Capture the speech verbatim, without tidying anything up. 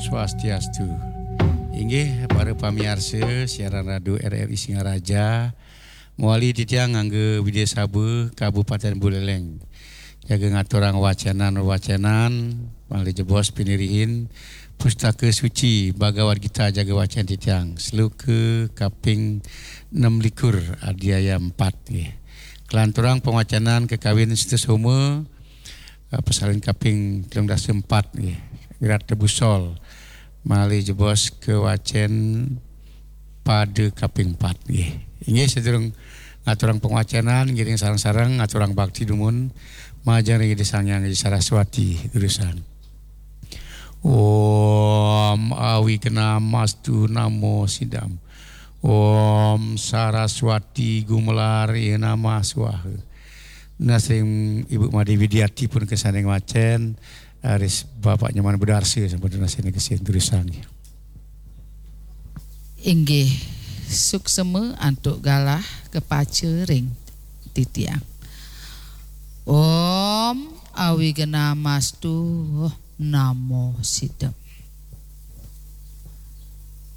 Swastiastu. Inggih, para pamiarsa siaran radio R R I Singaraja, mawali titiang ngangge Widya Saba, Kabupaten Buleleng. Jaga ngaturang wacenan-wacenan, malih jebos pinirihin Pustaka Suci Bhagavad Gita jaga wacen titiang, sloka kaping enam likur, adhyaya empat, nggih. Kalanturang pangwacenan kakawin Sita Soma, eh, pasalin kaping telung dasa empat, nggih. Wirat Tebusol, malih jebos kawacen pada kaping empat, nggih. Inggih, sadurung ngaturang pangwacenan, ngiring sareng-sareng ngaturang bakti dumun, majeng ring Ida Sang Hyang Ida Saraswati, durusang. Om Awignamastu Namo Sidam. Om Saraswati Gumelar Nama Swaha. Nunas ring Ibu Made Widiati pun kesaning wacen, aris Bapak Nyoman Bedarsa sampun nunas ring kesin, durusang. Inggih, suksema antuk galah kapaca ring titiang. Om Awignamastu Namo Sidam.